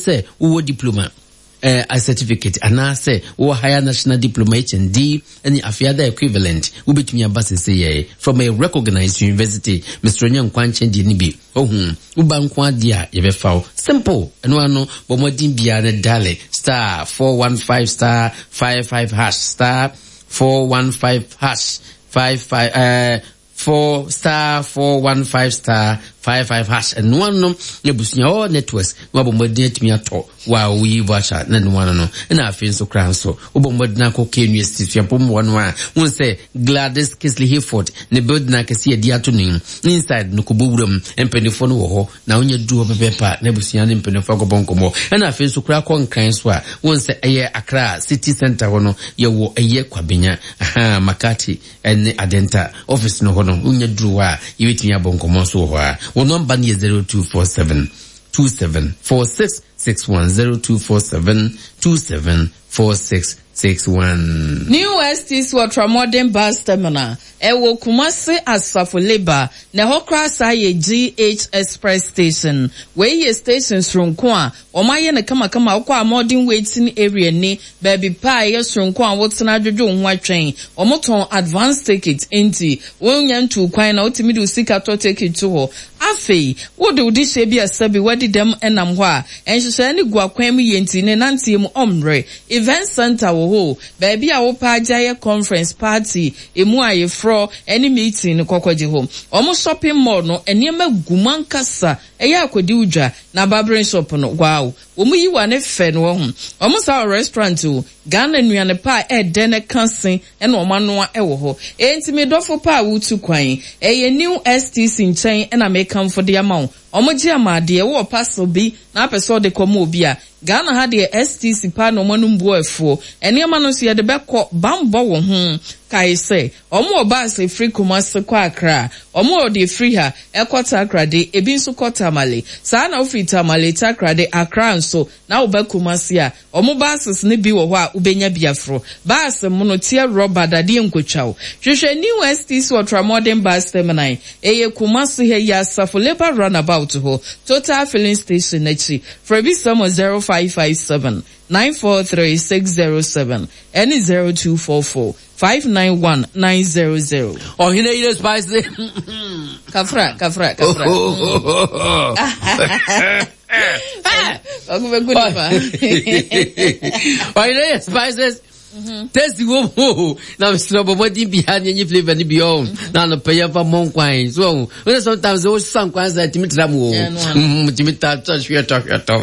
sɛ wowɔ diploma eh, certificate anaasɛ wowɔ higher national diploma HND ne afei ada equivalent wobɛtumi aba sese yɛ from a recognized university mesrɛ nyɛ nkwankyɛn deɛ no bi ohu woba nko adeɛ a yɛbɛfa wo simple ɛno ano bɔ mmɔden biara ne dale star 415 star 55 hash star 415 hash 55 eh, 4 star 415 star 55 hash ɛno ano na abusua all networks na wabɔ mmɔden atumi atɔ wa woyi voucher na ɛno ano no ɛna afei nso koraa nso wobɔ mmɔden akɔ KNUST suapɔn mu hɔ no a wohu sɛ Gladys Kisley Hayford ne building akɛse yɛde ato no inside no kɔbɔ wuram mpanimfoɔ no wɔ hɔ na wonya duru hɔ pɛpɛɛpɛ a na abusua ne mpanimfoɔ akɔbɔ nkɔmmɔ ɛna afei nso koraa kɔ nkran so a wohu sɛ ɛyɛ Accra city center hɔ no yɛwɔ ɛyɛ Kwabenya aha Makati ne Adenta office no hɔ no, wonya duru hɔ a, yɛbɛtumi abɔ nkɔmmɔ nso wɔ hɔ a. Wo nɔmba no yɛ 0247 27 4661, 0247 27 4661. New STC Ultramodern Bus Terminal, ɛwɔ Kumasi Asafo Labour, na ɛhɔ koraa saa yɛ GH Express Station. Wei yɛ station soronko a Wɔayɛ no kamakama, wokɔ a modern waiting area ni, baabi pa a ɛyɛ soronko a wotena adwodwo wo ho atwɛn. Wɔtɔn advance ticket, enti wonnya ntuu kwan na wotumi de wo sika tɔ ticket to hɔ. Afei, wode wo dehyeɛ bi a sɛbe woadi dɛm nam hɔ a, nhyehyɛeɛ no gu akwan mu yie nti ne nanteɛ mu ɔmmrɛ. Event centre wɔ hɔ o, baabi a wopɛ agye ayɛ conference, party, emu ayeforɔ ne meeting no kɔkɔgye hɔ. Wɔn shopping mall no, nneɛma gu mu ankasa. Ɛyɛ a kɔdi wo dwa na barbering shop no wow wɔn yi wa ne fɛ no wahu wɔn saa wɔ restaurant o Ghana nnuane pa a ɛdɛ na ɛka se na wɔn anoa wɔ hɔ enti me dɔfo pa a wotu kwan ɛyɛ new STC nkyɛn na mekamfo de ama wo wɔn gye ama adeɛ wowɔ parcel bi na apɛ sɛ wode kɔma obi a Ghana ha deɛ STC paa na wɔn anom bu afuo nneɛma no nso yɛde bɛkɔ banbɔ wo ho kae sɛ Wɔn wɔ bus ɛfiri Kumasi kɔ Accra, wɔn wɔ deɛ ɛfiri ha ɛkɔ Takoradi, ɛbi nso kɔ Tamale. Saa na wofiri Tamale, Takoradi, Accra nso na woba Kumasi a, wɔn buses no bi wɔ hɔ a wobɛnya bi aforo. Bus mono, teɛ rɔba, dadeɛ nkotwa wo. Hwehwɛ New STC Ultramodern Bus Terminal, ɛyɛ Kumasi ha yi Asafo Labour Runabout hɔ, Total Filling Station no akyi. Frɛ bisa mu 0557 943 607 ɛne 0244 591 900. Ɔhene yere spice. Kafra, kafra, kafra. Ɔkò bɛ gu nipa. Ɔhene yere spices. Taste wo mu na mesrɛ bɔ mmɔden biara ne enyi flavor no bi ɔ na anɔpɛ yɛmfa mmɔ nkwan so ɔho wone sometimes wo sa nkwan sɛ tumi tra mu o tumi ta tɔ hwɛ tɔ hwɛ tɔ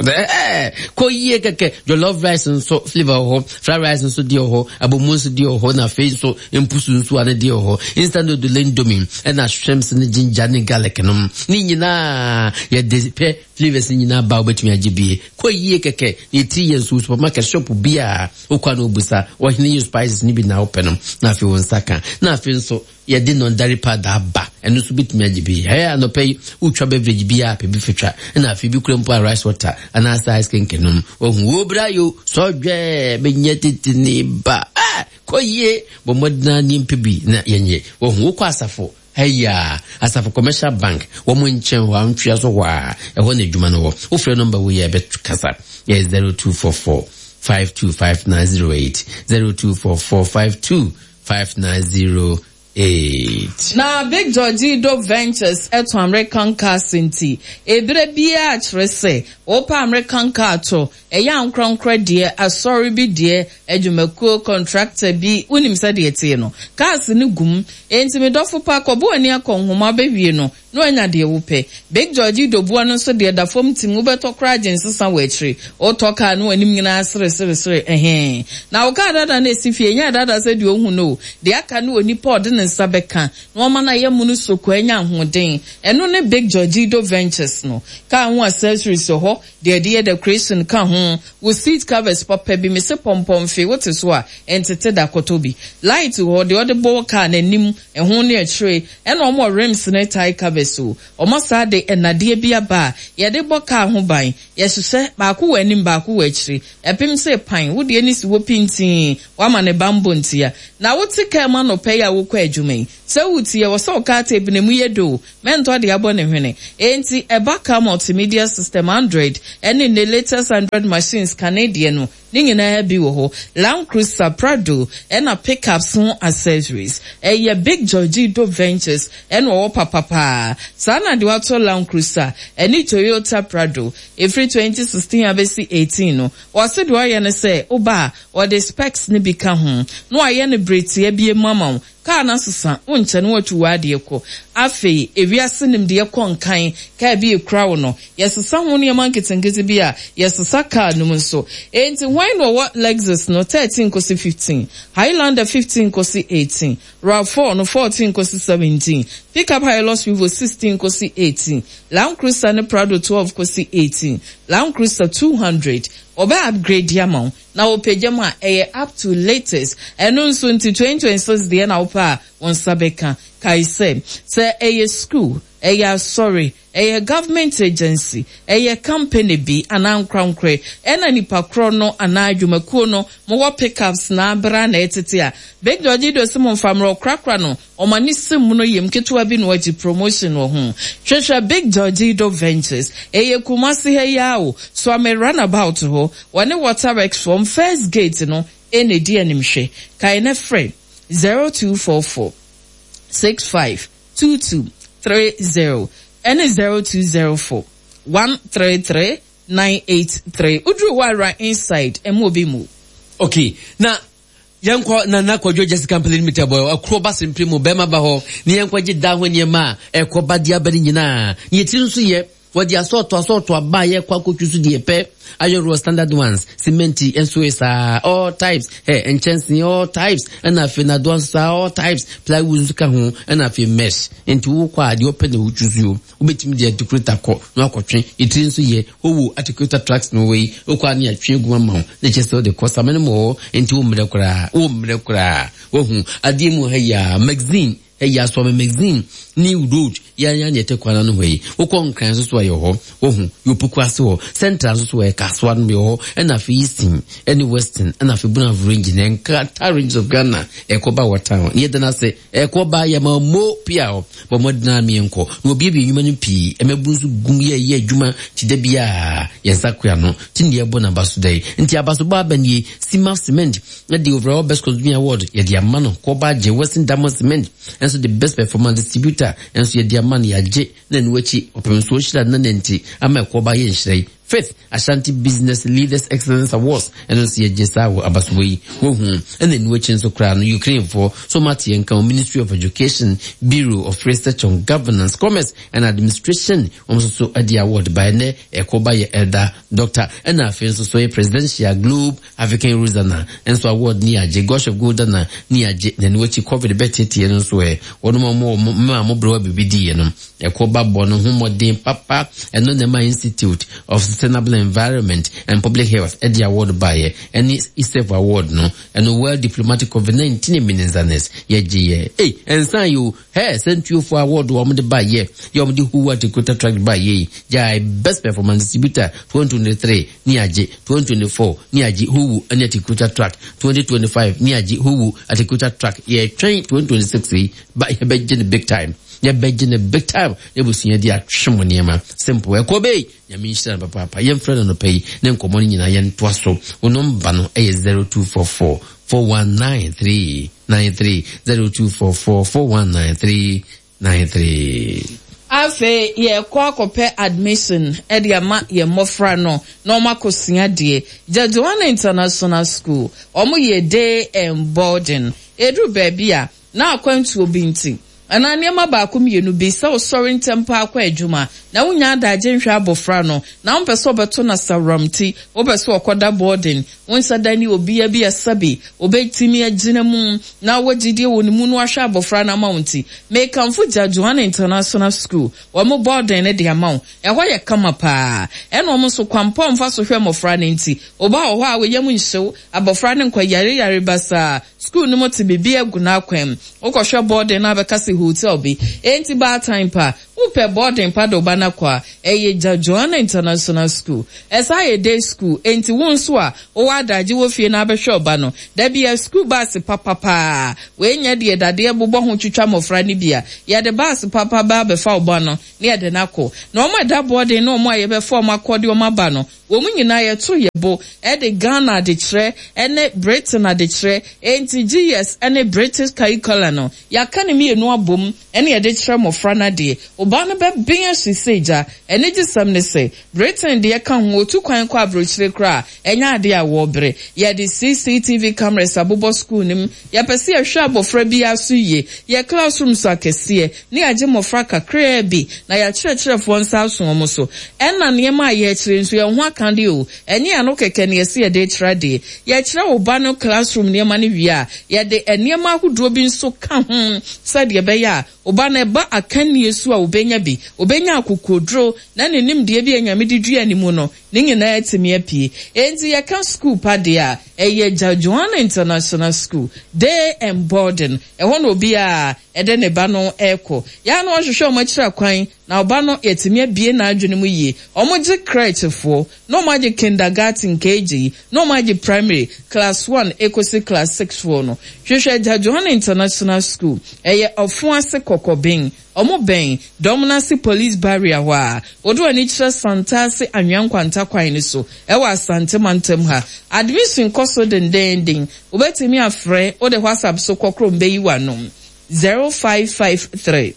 kɔ yie kɛkɛ jollof rice nso flavor wɔ hɔ fried rice nso deɛ wɔ hɔ abomu nso deɛ wɔ hɔ na afei nso mpusu nso ano deɛ wɔ hɔ instant noodle indomie ɛna shrimps ne ginger ne garlic nom ne nyinaa yɛde pɛ flavors nyinaa ba wobɛtumi agye bie kɔ yie kɛkɛ ne ɛtiri yɛ nso supermarket shop biaa wokɔ a na wobisa ɔhene yi spices no bi na wopɛ no na afei wo nsa ka na afei nso yɛde nɔndare powder aba ɛno nso bɛtumi agye bi ɛyɛ anɔpɛ yi wotwa beverage bi a pɛ bi fitwa ɛna afei bi kura mpo a rice water anaasɛ ice cream kenom wahu wo bra yo sɔdwɛ bɛnya tete ne ba kɔ yie bɔ mmɔdena ne mpɛ bi na yɛnyɛ wahu wokɔ asafo Ɛyɛ Asafo Commercial Bank, wɔn nkyɛn hɔ a, ntwea so hɔ a, ɛhɔ na adwuma no wɔ. Wofrɛ nɔmba wei a ɛbɛkasa, ɛyɛ 0244 525908, 0244 525908. Na Big Georgie Dope Ventures tɔn American cars nti, ebere biara kyerɛ sɛ wopɛ American car tɔ, ɛyɛ ankorankorɛ deɛ, asɔre bi deɛ, adwumakuo, contractor bi, wonim sɛdeɛ ɛteɛ no, cars no gu mu. Enti me dɔfo pa, kɔbɔ w'ani akɔ nhoma bɛwie no, na woanya deɛ wopɛ. Big George Doboa no nso deɛ da fam tim, wobɛtɔ koraa gye nsesa wɔ akyire. Wotɔ car no w'anim nyinaa sere sere sere, ɛhee. Na wo car dada no ɛsi fie, ɛnyɛ dada sɛ deɛ ɔhu no o, deɛ aka ne onipa a ɔde ne nsa bɛka na wama no ayɛ mono soko anya ahoɔden. Ɛno ne Big Georgido Ventures no. Car ho accessories wɔ hɔ, Deɛ yɛde yɛ decoration ka ho, wo seat covers papa bi, mese pɔmpɔ mfe, wote so a, ɛntete da, kɔtɔ bi. Light wɔ hɔ, deɛ wɔde bɔ wo car no anim, ɛho ne akyire, ɛna wɔn wɔ rims ne tyre covers o. Wɔn asaa de nnadeɛ bi aba a, yɛde bɔ car ho ban, yɛhyehyɛ, baako wɔ anim, baako wɔ akyire. Ɛpem sɛ pan, wo deɛ no si hɔ pintinn, woama no banbɔ ntia. Na wote car mu anɔpa yi a wokɔ adwuma yi, Sɛ wotie, ɛwɔ sɛ wo car tape no emu yɛ dɛ o, mɛntɔ de abɔ ne hwene. Enti ɛba car multimedia system, Android, ɛne nnɛ latest Android machines kane deɛ no, Ne nyinaa bi wɔ hɔ, Land Cruiser, Prado, ɛna pickups ho accessories. Ɛyɛ Big Georgido Ventures ɛna ɔwɔ papa paa. Saa na deɛ watɔ Land Cruiser ɛne Toyota Prado ɛfiri 2016 abɛsi 18 no, ɔse deɛ ɔyɛ ne sɛ woba a ɔde specs no bi ka ho na wayɛ no bere tia bi mu ama wo. Kaa no asesa, wonkyɛ na woatu w'adeɛ kɔ. Afei, ewiase nimdeɛ kɔ nkan, kaa bi rekura wo no, yɛsesa ho nneɛma nketenkete bi a, yɛsesa kaa no mu nso. Enti hwan na ɔwɔ Lexus no 13 kɔsi 15, Highlander 15 kɔsi 18, Rav4 no 14 kɔsi 17, Pickup Hilux Revo 16 kɔsi 18, Land Cruiser ne Prado 12 kɔsi 18, Land Cruiser 200? Wɔbɛ upgrade ama wo. Na wɔpagya mu a, ɛyɛ up to latest. Ɛno nso nti 2026 deɛ na wopɛ a, wo nsa bɛka. Kae sɛ, sɛ ɛyɛ sukuu, ɛyɛ asɔre, ɛyɛ government agency, ɛyɛ company bi anaa ankorankorɛ, ɛna nipa korɔ no anaa adwumakuo no mowɔ pickups na abra na ɛtete a, Big George Ido se momfa mmrɛ ɔkorakora no, wɔn ani se mono yam ketewa bi na wɔagye promotion wɔ ho. Hwehwɛ Big George Ido Ventures. Ɛyɛ Kumasi ha yi ara o, Suame Runabout hɔ. Wɔne Water Works fam first gate no na ɛdi animhwɛ. Kae na frɛ 0244 65 22 30 ɛne 0204 133 983. Woduru hɔ a wura inside, ɛmma obi mmu wo. Okay, na yɛnkɔ Nana Kwadwo Jessica Mpele Limited bɔ akuro ba sempere mu bɛrima ba hɔ ne yɛnkɔ gye da ho nneɛma a ɛkɔ ba de aba no nyinaa ne yɛtiri nso yɛ wɔde asɔɔto asɔɔto aba a yɛkɔ akɔtwi so deɛ pɛ ayɔroɔ standard ones cement nso yɛ saa all types ɛ nkyɛnsee all types ɛna afei nadoa nso saa all types plywood nso ka ho ɛna afei mesh nti wokɔ a deɛ ɔpɛ na wotwi so Wobɛtumi de atikuleta kɔ na wakɔtwe. Etiri nso yɛ, wowo atikuleta trucks no wei, wokɔ a ne yɛatwe agu ama wo, na kyerɛ sɛ wode kɔ samene mu hɔ, nti wo mmerɛ koraa, wo mmerɛ koraa. Wahu, adeɛ mu ha yi a, magazine, ha yi Asɔme magazine, New Road, yɛn ya ne yɛte kwan ano hɔ yi. Wokɔ Nkran nso so a yɛ hɔ, wahu, Yopuku ase hɔ, Central nso so ɛ, Kasoa no yɛ hɔ, ɛna afei Eastern, ɛne Western, ɛna afei Brong Range, ne Nkrata Ranges of Ghana, ɛkɔ ba wɔ town. Yɛda no ase. Ɛkɔ ba yɛ ma mo pia hɔ. Bɔ mmɔden ara meɛnkɔ. Na wɔbuebue nnwuma no pii. Mmabunu nso gum yɛ yɛ adwuma te da biara. Yɛn nsa koa no. Te nea ɛbɔ n'abaso da yi. Nti abasobɔ aba nie. Cimaf Cement de Overall Best Consumer Award yɛde ama no. Kɔba agye. Western Diamond Cement nso de Best Performance Distributor nso yɛde ama no. Yɛagye. Na ɛno akyi ɔpem nso ɔhyira nana nti ama ɛkɔba yɛ nhyira yi. Fifth Ashanti Business Leaders Excellence Awards ɛno nso yɛgye saa wɔ abasobɔ yi wohu ɛna ɛnu akyi nso koraa no Ukrainefoɔ so ma teɛ nka Ministry of Education Bureau of Research on Governance Commerce and Administration wɔn nso so ɛde award ba ɛnɛ ɛkɔ ba yɛ Elder Doctor ɛna afei nso so yɛ Presidential Globe African Rosanna nso award ne yɛagye Gosh of Goldana ne yɛagye na ɛno akyi COVID bɛteteɛ no nso ɛ wɔn a wɔn mmaa mo brɛ biribi diiɛ no ɛkɔ ba bɔ no ho mmɔden papa ɛno na ɛma Institute of Sustainable Environment and Public Health ɛde award baeɛ ɛne ISEF award no ɛno World Diplomatic COVID-19 Meninzanes yɛgye yɛ ei ɛnsan yi o hɛ sɛntuofoɔ award wɔn de baeɛ yɛ wɔn de Huwa Dakota Track baeɛ yi gyae Best Performance Distributor 2023 ne agye 2024 ne agye Huwu ne Atikuta Track 2025 ne agye Huwu Atikuta Track yɛtwɛn 2026 yi ba yɛbɛgye no big time yɛbɛgye no big time na abusua di atwe mo nneɛma simple ɛkɔ bɛyi nyame nhyira no papaapa yɛmfrɛ no nɔpɛ yi ne nkɔmmɔ no nyinaa yɛntoa so wo nɔmba no ɛyɛ 0244 4193 93 0244 4193 93. Afei yɛrekɔ akɔpɛ admission de ama yɛn mmɔfra no na wɔn akɔsua adeɛ. Jadwana International School, wɔn yɛ day and boarding. Ɛduru baabi a, na akwantuo bi nti, anaa nneɛma baako mmienu bi, sɛ wosɔre ntɛm paa kɔ adwuma, na wonnya adagye nhwɛ abɔfra no, na wompɛ sɛ ɔbɛto no asaworam nti, wopɛ sɛ ɔkɔda boarding, Wo nsa da ne obia bi a sɛbe obetumi agyina mu na wɔ gyidie wɔ ne mu no ahwɛ abɔfra no ama wo nti, mekamfo Gyajoan International School, wɔn boarding no de ama wo. Ɛhɔ yɛ kama paa. Ɛna wɔn nso kwan pa a wɔfa so hwɛ mmɔfra no nti, oba wɔ hɔ a wo yam nhye wo, abɔfra no nkɔ yare yare basaa. School no mu te biribiara gu n'akwan mu. Wokɔhwɛ boarding no a bɛka sɛ hotel bi. Enti baatan pa. Wopɛ boarding pa de wo ba no akɔ a, ɛyɛ Gya Joanna International School. Ɛsan yɛ day school, enti wo nso a wowɔ adagye wɔ fie na abɛhwɛ wo ba no, da biara sukuu baase papa paa. Wei nyɛ deɛ dadeɛ bobɔ ho twitwa mmɔfra no bi a. Yɛde baase papa ba abɛfa wo ba no na yɛde no akɔ. Na wɔn a ɛda boarding ne wɔn a yɛbɛfa wɔn akɔ de wɔn aba no, wɔn nyinaa yɛto yɛn bo de Ghana adekyerɛ ne Britain adekyerɛ, enti GS ne British curriculum no, yɛaka ne mmienu abom na yɛde kyerɛ mmɔfra no adeɛ. Wo ba no bɛben ahye sɛ gya. Anigyesɛm ne sɛ, Britain deɛ ka ho, wɔtu kwan kɔ aburokyire koraa a, ɛnyɛ adeɛ a wɔbrɛ. Yɛde CCTV cameras abobɔ sukuu no mu. Yɛpɛ sɛ yɛhwɛ abɔfra biara so yie. Yɛn classrooms akɛseɛ, na yɛagye mmɔfra kakraa bi, na yɛn akyerɛkyerɛfoɔ nsa aso wɔn so. Ɛna nneɛma a yɛrekyerɛ nso, yɛn ho aka deɛ o, ɛnyɛ ano kɛkɛ na yɛse yɛde rekyerɛ adeɛ. Yɛkyerɛ wo ba no classroom nneɛma no wie a, yɛde nneɛma ahodoɔ bi nso ka ho sɛdeɛ ɛbɛyɛ a wo ba no ɛba akannie so a ɔbɛnya bi, ɔbɛnya akokoɔduro na ne nimdeɛ bi a Nyame de dua ne mu no, ne nyinaa atumi apue. Enti yɛka sukuu pa deɛ a, ɛyɛ Jajuan International School, Day and Boarding. Ɛhɔ na obiara de ne ba no rekɔ. Yɛ a na wɔhwehwɛ wɔn akyiri kwan, na ɔba no yɛatumi abue n'adwene mu yie. Wɔgye crèche-foɔ, na wɔagye kindergarten, KG, na wɔagye primary, class one kɔsi class six foɔ no. Hwehwɛ Jajuan International School. Ɛyɛ Ɔfoase Kɔkɔben. Ɔmo bɛn dɔm no ase police barrier hɔ a, wode w'ani kyerɛ Santase Anwea Nkwanta kwan no so ɛwɔ Asante mantam ha. Admission kɔ so dendeenden. Wobɛtumi afrɛ, wode WhatsApp so kɔ krom bɛyi w'ano, 0553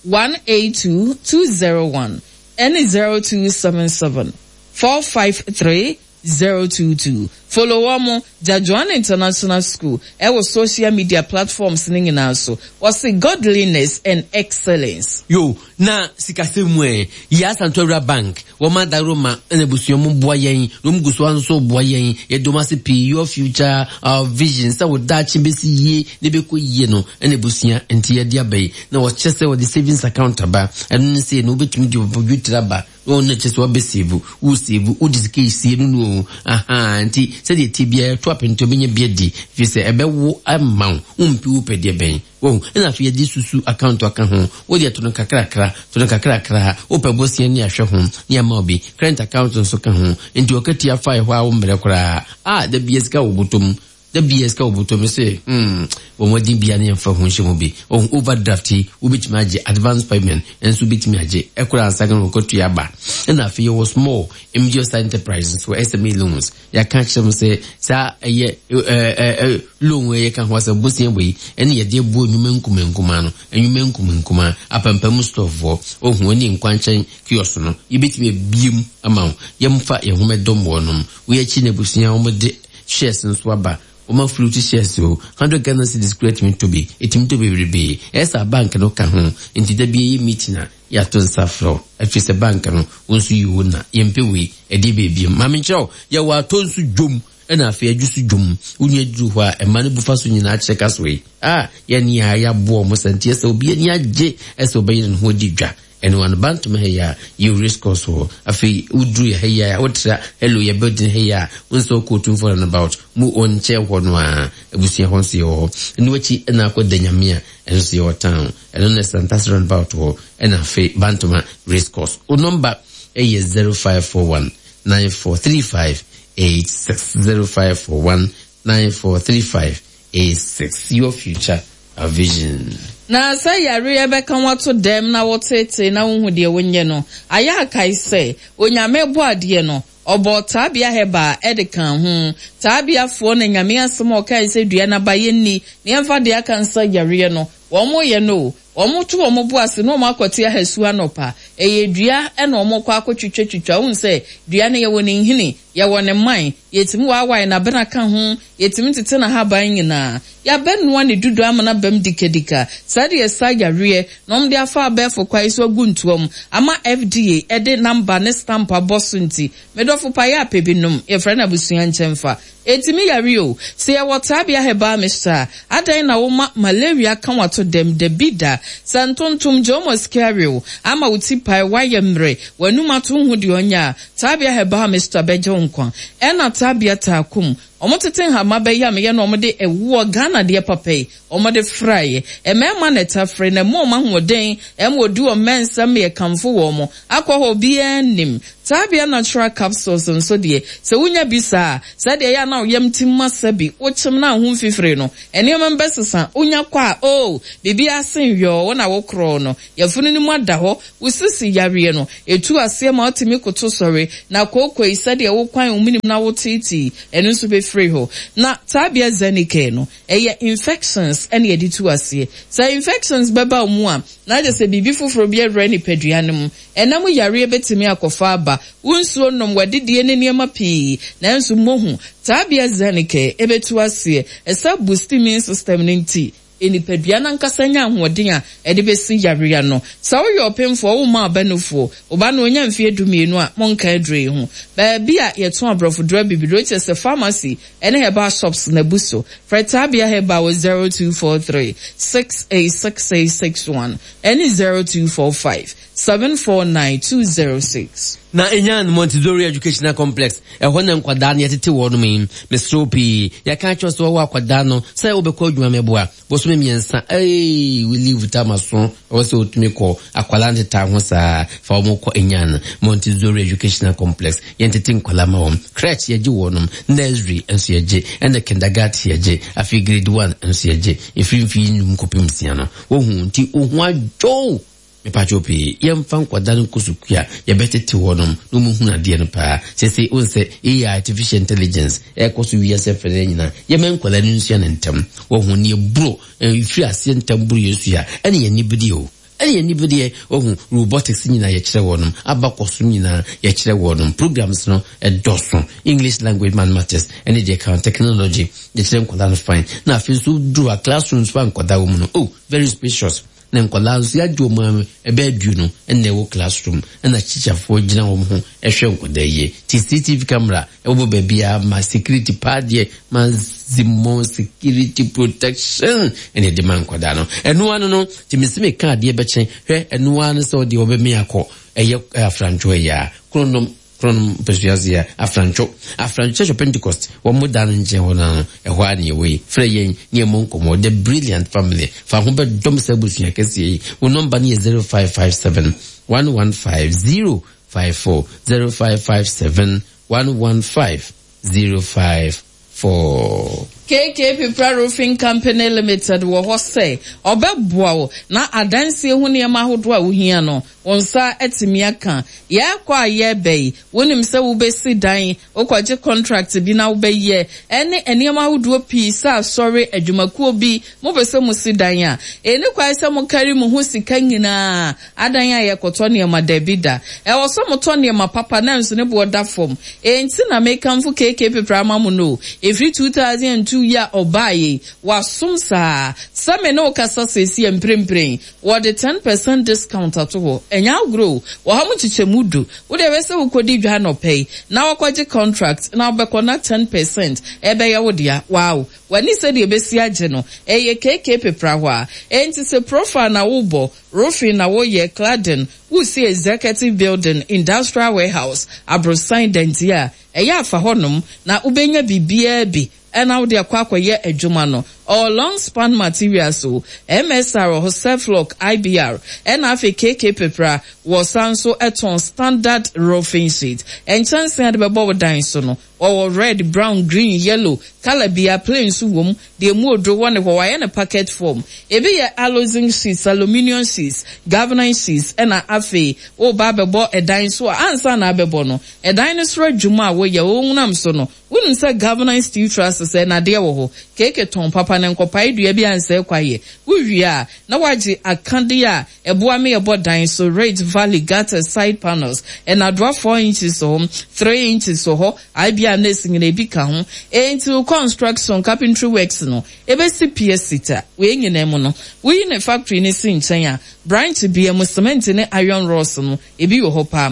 182 201 ɛne 0277 453 022. Follow wɔn, Jajuan International School, ɛwɔ social media platforms no nyinaa so. Wɔse Godliness and Excellence. Yo, na sikasɛm mu ɛ? Yɛ Asantew Awura Bank, wɔn adaworoma na abusua mu boa yɛn, na wɔn gu so ara nso boa yɛn. Yɛda wɔn ase pii. Your future, our vision, sɛ wo daakye bɛsi yie na ɛbɛkɔ yie no, ɛna abusua nti yɛde aba yi. Na wɔkyerɛ sɛ wɔde savings account aba. Ɛno ne sɛ no wobɛtumi de wo dwetire aba. Wɔn na kyerɛ sɛ wabɛsave, wo save, wode sika esie no no o. Ahaa, nti sɛdeɛ ɛteɛ biara ɛto apɛntɛ wobɛnya bi adi, ɛfiri sɛ ɛbɛwo ama wo, wompi wo pɛ deɛ bɛn. Wahu? Ɛna afei yɛde susu account aka ho, wodeɛ to no kakrakra, to no kakrakra, wopɛ bosea ne ahwɛ ho, ne ama wo bi. Current account nso ka ho, nti ɔkatua fa ɛhɔ a wommrɛ koraa. Ah, da biara sika wɔ bɔtɔ mu. Da biara sika wɔ bɔtɔ mu sɛ hmm bɔ mmɔden biara ne yɛmfa ho nhyɛ mu bi. Wahu overdraft yi wobɛtumi agye, advance payment nso wobɛtumi agye ɛkora ansa na wɔkɔtua aba. Ɛna afei yɛwɔ small medium size enterprise nso SME loans. Yɛaka akyerɛ mo sɛ saa ɛyɛ ɛɛ loan wei yɛka ho asɛm bosea wei ɛne yɛde abuo nnwuma nkuma nkuma no nnwuma nkuma nkuma apampam storefoɔ ohu ɛne nkwankyɛn kiosk no yɛbɛtumi abie mu ama wo yɛmfa yɛn ho mɛdɔm wɔnom. Wei akyi na abusua wɔn de shares nso aba. Wɔma float shares o, 100 Ghana cedis koraa tumi tɔ bi, ɛtumi tɔ bebrebe. Ɛyɛ saa bank no ka ho, nti da bi yɛyɛ meeting a, yɛato nsa frɛ wo. Ɛfiri sɛ bank no, wo nso yi wo na, yɛmpɛ wei, ɛdeɛ bɛɛ biom. Ma menkyerɛ wo, yɛwɔ atɔ nso dwom, ɛna afei adwo so dwom. Wo nua duru hɔ a, ɛma no bu fa so nyinaa kyerɛ ka so yi. Ah, yɛne a yɛaboa wɔn sɛ nti ɛsɛ obi ani agye ɛsɛ ɔbɛyere ne ho adi dwa. Ɛno ano Bantom ha yi a, yɛ race course hɔ. Afei woduru yɛ ha yi a, wotra hello yɛ building ha yi a, wo nsa wokɔ Otumfoɔ roundabout mu wɔ nkyɛn hɔ no a, abusua hɔ nso yɛwɔ hɔ. Ɛno akyi na akɔ Danyame a, ɛno nso yɛwɔ town. Ɛno na Santase roundabout hɔ, ɛna afei Bantoma race course. Wo nɔmba yɛ 0541 9435 86 0541 9435 86 Your future A vision. Na sɛ yareɛ bɛka wo ato dɛm na woteetee na wonhu deɛ wonyɛ no, ayɛ a kae sɛ, Onyame bɔɔ adeɛ no, ɔbɔɔ taabea herbal de kaa ho. Taabeafoɔ na Nyame asɛm a ɔkae sɛ dua no aba yɛnni na yɛmfa deɛ aka nsa yareɛ no, wɔn yɛ no o. Wɔn to wɔn bo ase na wɔn akɔte ahasu anɔpa. Ɛyɛ dua na wɔn kɔ akɔtwitwa twitwa. Wohu sɛ dua no yɛwɔ ne nhini, yɛwɔ ne mman, yɛtumi waawae n'abena ka ho, yɛtumi tete n'ahaban nyinaa. Yɛabɛnoa ne dudu ama no abam dikadika. Saa deɛ ɛsa yareɛ na wɔde afa abɛɛfo kwan so agu ntoa mu ama FDA de number ne stamp abɔ so nti, me dɔfo pa yɛ apɛ bi nom. Yɛfrɛ no abusua nkyɛmfa. Ɛtumi yare o. Sɛ yɛwɔ Taabea Herbal Mixture a, adɛn na woma malaria ka w'ato dɛm? Dabi da. Sɛ ntontom, Jomo Scario, ama wo ti pae, woayɛ mmerɛ, w'anum ato nhu deɛ ɔnyɛ a, Taabea Herbal Mixture bɛgye wo nkwa. Ɛna Taabea Taakum. Wɔtete nhama bɛyamyɛ na wɔde ɛwoɔ, Ghana deɛ papa yi, wɔde fraeɛ. Mmarima na ɛtafere na ɛma wɔn ahoɔden, ɛma wɔdi wɔn mmɛ nsɛm ma yɛkamfo wɔn. Akɔ hɔ obiara nnim. Tabia Natural Capsules nso deɛ, sɛ wonya bi saa a, sɛdeɛ ɛyɛ a na wo yam tim ma sɛbi wokyem na wo ho mfifire no, nneɛma mu bɛsesa. Wonya kɔ a, oh, biribiara sen yɔɔ, wo na wokorɔɔ no. Yafunu no mu ada hɔ, wo sisi yareɛ no, ɛtu aseɛ ma wotumi koto sɔre, na kookoi, sɛdeɛ wokwan wo menem na woteetee, ɛno nso bɛfiri hɔ. Na Tabia Zenicare no, ɛyɛ infections na yɛde tu aseɛ. Sɛ infections bɛba wo mu a, na kyerɛ sɛ biribi foforɔ bi awura nipadua no mu. Ɛna mu yareɛ bɛtumi akɔfa aba. Wo nsuo nom, w'adidie ne nneɛma pii. Nanso mohu, Tabia Zenicare ɛbɛtu aseɛ. Ɛsa boost immune system no nti, nipadua no ankasa nya ahoɔden a ɛde bɛsi yareɛ ano. Sɛ woyɛ ɔpemfoɔ, womma ɔba nufoɔ, wo ba no ɔnya mfeɛ dumienu a, monka aduro yi ho. Baabi a yɛtɔn aborɔfoduro abibiduro, kyerɛ sɛ pharmacy ne herbal shops no abu so. Frɛ Tabia Herbal wɔ 0243 686861 ne 0245 749 206. Na enyan Montessori Educational Complex, ɛhɔ na nkwadaa no yɛtete wɔnom yi. Mesrɛ wo pii, yɛka akyerɛ wo sɛ wɔwɔ akwadaa no sɛ wobɛkɔ adwuma mɛboa. Bosome mmiɛnsa, eii, wo leave tam aso, ɛwɔ sɛ wotumi kɔ. Akwadaa no tetaa ho saa, fa wɔn kɔ enyan Montessori Educational Complex. Yɛntete nkwadaa ma wɔn. Crèche yɛgye wɔnom, nursery nso yɛgye, ɛna kindergarten yɛgye, afei grade one nso yɛgye. Ɛfiri mfeɛ nnum kɔpem nsia no. Wohu, nti wo ho adwo wo. Mepakyɛw pii, yɛmfa nkwadaa no nkɔ sukuu a, yɛbɛtete wɔnom na wɔahunu adeɛ no paa. Seesei wohu sɛ AI, artificial intelligence, ɛrekɔ so wiase afanan nyinaa. Yɛmma nkwadaa no nsua no ntɛm. Wɔhu nea ɛboro, ɛfiri aseɛ ntɛm boro yɛn sua a, ɛne yɛn anibedeɛ o. Ɛne yɛn anibedeɛ. Wahu, robotics nyinaa yɛkyerɛ wɔnom, abakɔsom nyinaa yɛkyerɛ wɔnom. Programs no ɛdɔso. English language, mathematics, ɛne deɛ ɛka ho, technology, yɛkyerɛ nkwadaa no fine. Na afei nso woduru a, classrooms a nkwadaa wɔ mu no, oh, very spacious. Na nkwadaa nso yɛagye wɔn ara ɛbɛyɛ aduonu na ɛwɔ classroom ɛna tikyafoɔ gyina wɔn ho ɛhwɛ nkwadaa yie. Ti CCTV camera ɛwɔ baabiara ma security paa deɛ maximum security protection ɛna ɛde ma nkwadaa no. Ɛno ano no ti mesi meka adeɛ bɛkyɛn hwɛ ɛno ano sɛ ɔdeɛ ɔbɛmi akɔ ɛyɛ afrantwo ɛyɛ a kronom Kronom mpasua ase a, Afrantwo, Afrantwo Church of Pentecost, wɔn mo dan no nkyɛn hɔ no ara no, ɛhɔ ara na yɛwɔ yi. Frɛ yɛn ne yɛmmɔ nkɔmmɔ. The Brilliant Family, fa ho bɛdɔm saa abusua kɛseɛ yi. Wo nɔmba no yɛ 0557 115 054, 0557 115 054. KK Pipra Roofing Company Limited wɔ hɔ sɛ ɔbɛboa wo na adansie ho nneɛma ahodoɔ a wohia no, Wo nsa atumi aka. Yɛrekɔ a yɛreba yi, wonim sɛ wobɛsi dan, wokɔgye contract bi na wobɛyɛ, ɛne nneɛma ahodoɔ pii sɛ asɔre, adwumakuo bi, mopɛ sɛ mosi dan a, ɛnni kwan sɛ mokari mo ho sika nyinaa adan a yɛkɔtɔ nneɛma, dabi da. Ɛwɔ sɛ motɔ nneɛma papa nanso ne boɔ da fam. Enti na mekamfo KK Pepra ama mo no o. Ɛfiri 2002 yi a ɔbaeɛ yi, wasom saa. Sɛ me ne wo kasa seesei a mprempren, Wɔde 10% discount ato hɔ. Ɛnyɛ agorɔ o. Wɔ ha mo nkyekyɛmu du. Wo deɛ hwɛ sɛ wokɔdi dwa anɔpa yi na wakɔgye contract na wobɛkɔ na 10% ɛbɛyɛ wo dea. Wow! W'ani sɛdeɛ ɛbɛsi agye no. Ɛyɛ KK pepra hɔ a. Enti sɛ profile na wobɔ, roofing na woyɛ, cladding, wosi executive building, industrial warehouse, aborosan, dantie a, ɛyɛ a fa hɔnom na wobɛnya biribiara bi na wode akɔ akɔyɛ adwuma no. Ɔwɔ long span materials o, MSR wɔ hɔ, Surflock, IBR, ɛna afei KK Pepra wɔ san nso tɔn standard roofing sheet. Nkyɛnsee a de bɛbɔ wo dan so no, wɔwɔ red, brown, green, yellow, colour biara, plain nso wom, deɛ emu oduro wɔ ne hɔ, wɔayɛ no packet form. Ebi yɛ aluzinc sheets, aluminium sheets, galvanized sheets, ɛna afei woreba abɛbɔ dan so a, ansa na abɛbɔ no, ɛdan no soro adwuma a woyɛ, wonam so no, Wonim sɛ Governor Steve Truss sɛ nnadeɛ wɔ hɔ, keeke tɔn papa na nkɔpae dua bi ansɛe kwaeɛ. Wowie a, na woagye akadeɛ a ɛboa ma yɛbɔ dan so, ridge, valley, gutters, side panels, nnadoa four inches wɔ hɔ, three inches wɔ hɔ, IBR nurse nyinaa ebi ka ho. Enti wo construction, carpentry works no, ɛbɛsi pia sita. Wei nyinaa mu no, woyi ne factory no si nkyɛn a, branch biara mu cement ne iron rods no, ebi wɔ hɔ paa.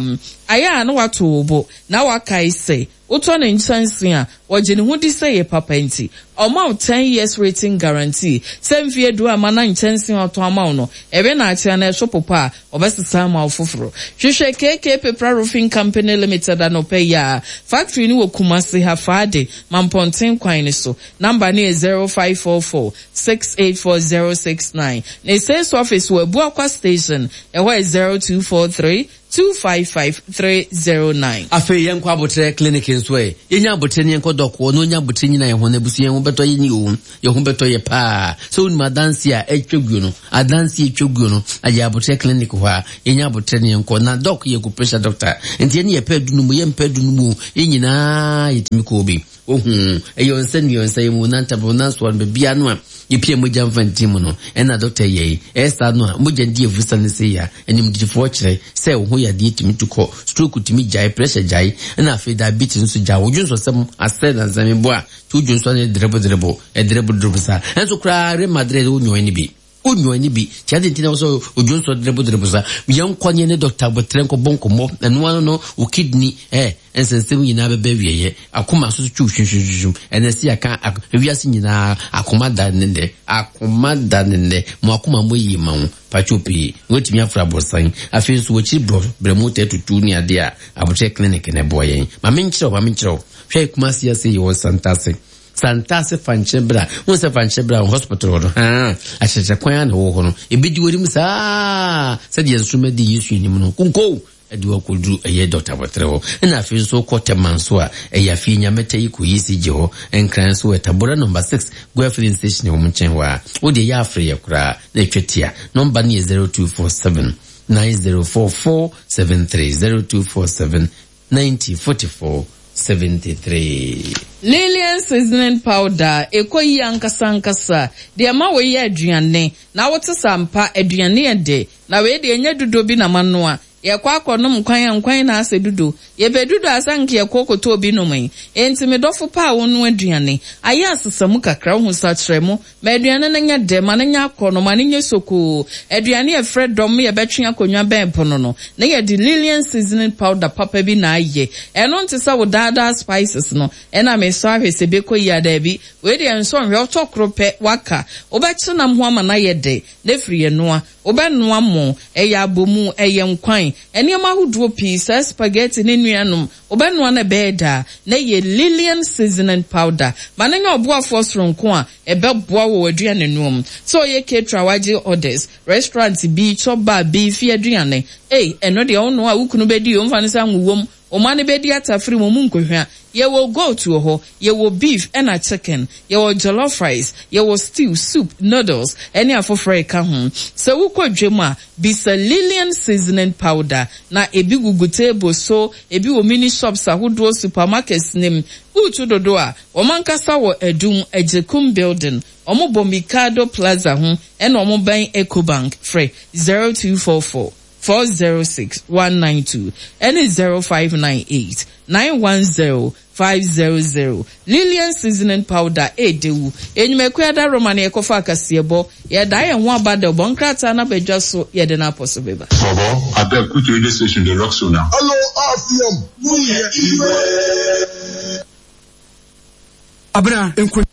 Ayɛ a na woato wo bo na woakae sɛ Wotɔ ne nkyɛnse a, ɔgye ne ho di sɛ ɛyɛ papa nti, ɔma wo ten years rating guarantee sɛ mfeɛ du amma. ma na nkyɛnsee a ɔtɔn ama wo no, ɛwe na akye anaa ɛso popa a, ɔbɛsesa ama wo foforo. Hwehwɛ KK Pepra Roofing Company Limited anɔpa yi ara. Factory no wɔ Kumasi ha, Faade, Mampɔnten kwan no so. Number no yɛ 0544 684069. Ne sales office wɔ Abuakwa Station, ɛhɔ yɛ 0243 255309. Afei yɛnkɔ aboterɛ clinic nso ɛ. Yɛnya aboterɛ ne yɛnkɔ dɔk hɔ na ɔnya aboterɛ nyina yɛn ho na abusua yɛn ho bɛtɔ yɛn o. Yɛn ho bɛtɔ yɛ paa. Sɛ wonim adanseɛ a ɛtwa guo no, adanseɛ ɛtwa guo no, ayɛ aboterɛ clinic hɔ a, yɛnya aboterɛ ne yɛnkɔ. Na dɔk yɛ acupressure doctor. Nti yɛne yɛpɛ adu no mu, yɛmpɛ adu no mu o, yɛn nyinaa yɛtumi kɔ bi. Wohu, ɛyɛ ɔnsa nua, ɔnsa yɛ mu, nantabere, ɔnansoa no, baabiara no a yɛpia mogya mfa nti mu no, ɛna dɔkta yɛ yi. Ɛyɛ saa no a, mogya di afusa no sei a, animdefoɔ kyerɛ sɛ wo ho yadeɛ tumi tu kɔ, stroke tumi gyae, pressure gyae, ɛna afei diabetes nso gyae. Wo dwonsɔsɛm asɛ nansa mebɔ a, nti wo dwonsɔ no yɛ drebo drebo, ɛdrebo drebo saa. Ɛnso koraa Real Madrid wo nyɔɛ no bi. Wo nyɔɛ no bi. Nti adɛn nti na wo sɛ odwonsɔ drebo drebo saa? Yɛnkɔ ne yɛne dɔkta aboterɛ nkɔbɔ nkɔmmɔ. Ɛno ano no, wo kidney, eh, nsɛnsɛm nyinaa bɛba awieɛ. Akoma nso so twiw hwimhwimhwim. Ɛnɛ sɛ yɛaka wiase nyinaa akoma da ne nnɛ. Akoma da ne nnɛ. Mo akoma mmɔ yie ma wo. Pakyɛw pii. Woatumi afra aborosan. Afei nso wakyiri brɔ, brɛmo taa tutu ne adeɛ a, Aboterɛ clinic na ɛboa yɛn. Ma menkyerɛ wo, ma menkyerɛ wo. Hwɛ Kumasi ase yɛwɔ Santase. Santase Fankyerɛ Bra. Wohu sɛ Fankyerɛ Bra wɔ hospital hɔ no, haa, akyerɛkyerɛ kwan a na ɛwɔ hɔ no, ɛbɛdi w'anim saa sɛdeɛ nsoromma di Yesu anim no. Konko! Ɛde wo akɔduru ɛyɛ Dɔkta Aboterɛ hɔ. Ɛna afei nso wokɔ Tema nso a, ɛyɛ afei Nyamɛtɛ yi kɔ ECG hɔ. Nkran nso wɔ Tabora nɔmba 6, Goa filling station wɔ wɔn nkyɛn hɔ a. Wo deɛ yɛ afrɛ yɛ koraa na ɛtwa tia. Nɔmba no yɛ 0247 9044 73, 0247 90 44 73. Lilian seasoning powder, ɛkɔ yie ankasa ankasa. Deɛ ɛma wei yɛ aduane, na wote sɛ ampa aduane yɛ dɛ. Na wei deɛ ɛnyɛ dudo bi na manoa. Yɛkɔ akɔnom nkwan a, nkwan na asɛ dudo. Yɛpɛ dudo a, sɛ anka yɛkɔ kɔtɔ obi nom yi. Enti me dɔfo pa a wonoa aduane, ayɛ asesa mu kakra, wohu sakyera mu. Ma aduane no nyɛ dɛ, ma no nyɛ akɔnnɔ, ma no nyɛ sokoo. Aduane a ɛfrɛ dɔm ma yɛbɛtwe akonnwa bɛn pono no, na yɛde Lilian seasoning powder papa bi na ayɛ. Ɛno nte sɛ wo daa daa spices no. Ɛna mesɔ ahwɛ sɛ ɛbɛkɔ yie a, daabi. Wei deɛ nsɔ nhwɛ, wotɔ koro pɛ, woaka. Wobɛkye nam ho ama no ayɛ dɛ, na afiri yɛnoa. Wobɛnoa mo, ɛyɛ abomu, ɛyɛ nkwan, nneɛma ahodoɔ pii, saa spaghetti ne nuanom, wobɛnoa no ɛbɛyɛ dɛ a, na ɛyɛ Lilian seasoning powder. Ma no nyɛ ɔboafoɔ soronko a ɛbɛboa wo wɔ w'aduanenoa mu. Sɛ ɔyɛ caterer a wagye orders, restaurant bi, chop bar bi, fie aduane, ei, ɛno deɛ wonoa a wo kunu bɛdi o, mfa no sɛ anwo wom, Wo mma no bɛdi atafere mu, ɔmu nkɔhwa. Yɛwɔ goat wɔ hɔ, yɛwɔ beef ɛna chicken, yɛwɔ jollof rice, yɛwɔ stew, soup, noodles ɛne afoforɔ a ɛka ho. Sɛ wokɔ dwam a, bisa Lilian seasoning powder na ebi gugu table so, ebi wɔ mini shops ahodoɔ, supermarkets no mu. Woretu dodo a, wɔn ankasa wɔ Adum, Agyekum building, wɔbɔ Mikado Plaza ho ɛna wɔbɛn Ecobank. Frɛ 0244. 406 192 ɛne 0598 910 500 Lilian seasoning powder ɛɛdɛ wu Enyumakuo adaworoma na yɛkɔfa akaseɛbɔ Yɛdaa yɛn ho aba dɛ ɔbɔ nkrataa no aba dwa so yɛde no apɔ so beba. Bobo, abeg put radio station dey rock so now. Hello RCM, wo yɛ iwe. Abena, nko.